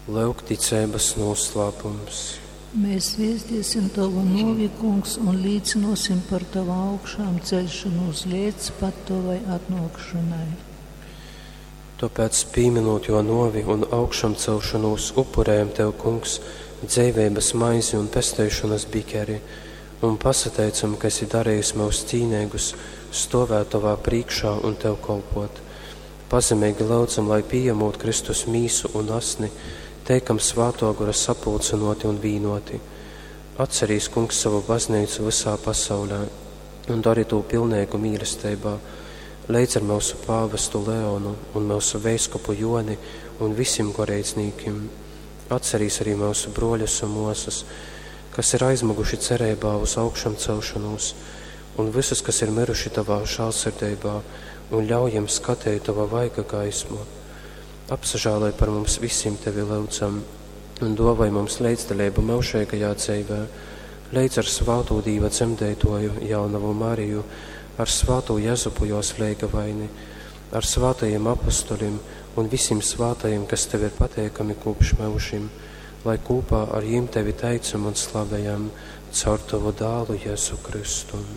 Lyuk ticeibas nūslāpums. Mēs viestiesim Tavu novi, Kungs, un līcinosim par Tavu augšām ceļšanos līdz pat Tavai atnākšanai. Tāpēc, pieminot jo novi un augšām celšanos, upurējam Tev, Kungs, dzeiveibas maizi un pesteišanas bikeri, un pasateicam, ka esi darījis mūs cīnīgus stovēt Tavā priekšā un Tev kolpot. Pazemīgi lūdzam, lai pieņemot Kristus mīsu un asni, teikam svāto gora sapulcinoti un vīnoti. Atcerīs, Kungs, savu baznīcu visā pasaulē un dari to pilnīgu mīlestībā, leidz ar mūsu pāvestu Leonu un mūsu veiskupu Joni un visiem goreidznīkim. Atcerīs arī mūsu broļus un mosas, kas ir aizmuguši cerībā uz augšām celšanos, un visus, kas ir miruši tavā žēlsirdībā, un ļauj jiem skatīt tava vaiga gaismu. Apsažālai par mums visiem tevi lūdzam, un dovai mums līdzdalību mūžīgajā dzīvē, līdz ar svāto Dīva dzemdētoju jaunavu Mariju, ar svāto Jezupu jos leigavaini, ar svātajiem apustuļiem un visiem svātajiem, kas tev ir pateikami kopš mūžim, lai kopā ar jiem tevi teicam un slavējam caur tavu dālu Jēzu Kristu.